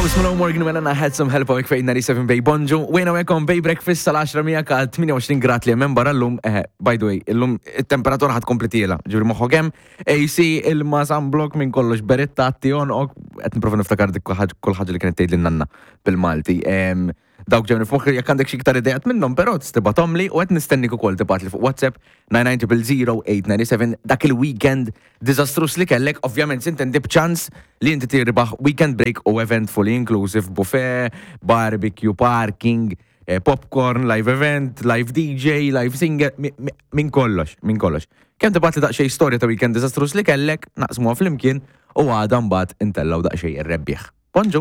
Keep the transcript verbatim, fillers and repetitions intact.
Post Malone, Morgan Wallen, I Had Some Help għawek fejn ninety-seven Bay. Bonġu, wejna għekom Bay Breakfast sal-għaxra miegħek għal tmienja u għoxrin grad li hemm barra llum. Eh, by the way, illum it-temperatura ħad kompli tiela. Ġifieri moħħok hemm, A C, ilma, sunblock, minn kollox, beretta, tion, ok, qed nipprova niftakar dik kull ħaġa li kienet tgħid lin-nanna bil-Malti. Em, Dawk ġewni f'moħħi, jekk għandek xi iktar idejat minnhom, però tibgħathomli u qed nistennik ukoll tibgħatli fuq WhatsApp nine nine zero zero eight nine seven dak il-weekend diżastrus li kellek, ovvjament sintendi b'ċans li inti tirbaħ weekend break u event fully inclusive, buffet, barbecue, parking, eh, popcorn, live event, live D J, live singer, mi- mi- minn kollox, minn kollox. Kemm tibgħatli daqsxejn storja ta' weekend diżastrus li kellek, naqsmuha flimkien u għada mbagħad intellaw daqsxejn ir-rebbieħ. Bonġu!